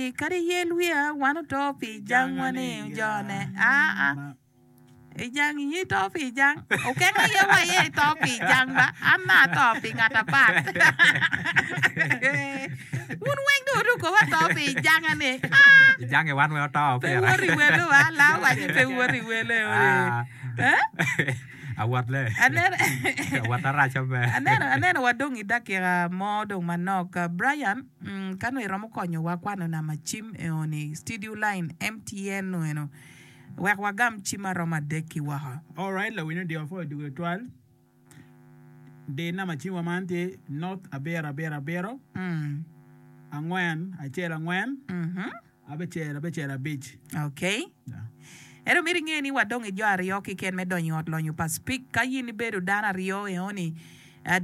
Ori kadi iyel wiya wan oto pi jangwa ni jone aa I jang in ito pi jang okeng aye wa aye ito pi jang ba an ma ato pi ngat apat wun weng dong wuruko wa to pi janga ni ah Ijange wan weng oto pe pira. woto i wele wa la waci pe woto i wele ori Ah. eh Awot le. Aneno Awot arac abe. aneno aneno wa dong i dakika mo dong manok Brian mm, ka nongo iromo konyowa kwano namba cim eoni studio line MTN nu eno Wek wagam cim ma romo adek-ki woko. Alright lawiny odiko apwoyo dwogo tutwal di namba cimwa man tye not abiro abiro abiro angwen acel angwen abicel abicel abic. Okay. Ento myero inge ni wadong i jo aryo kiken me donyo i ot lonyo pa Speke. Ka in ibedo dano aryo eoni,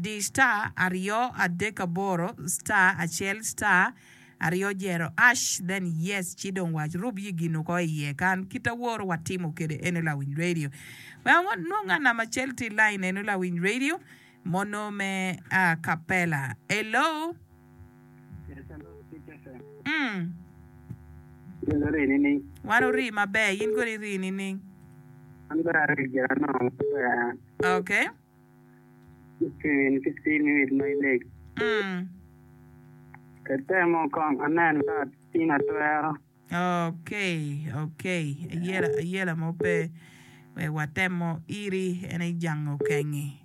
di star aryo adek aboro star acel star Aryo jero ash then yes ci dong wac rub yi gin oko iye kan kit aworo wa timo kede eno lawiny radio wek anwong nga namba acel tye i line eno lawiny radio mono me a capella hello Yes, hello, Peach FM. mm. In ori nining? Wan ori maber in kodi iri nining? An bene ari gira anongo maber. Okay. Ki ki cim with my leg. Mm. Atemo kong anen ka atin atwero. Okay, okay. Ayela, ayela mo pe. Wek watemo iri en aye jango kengi.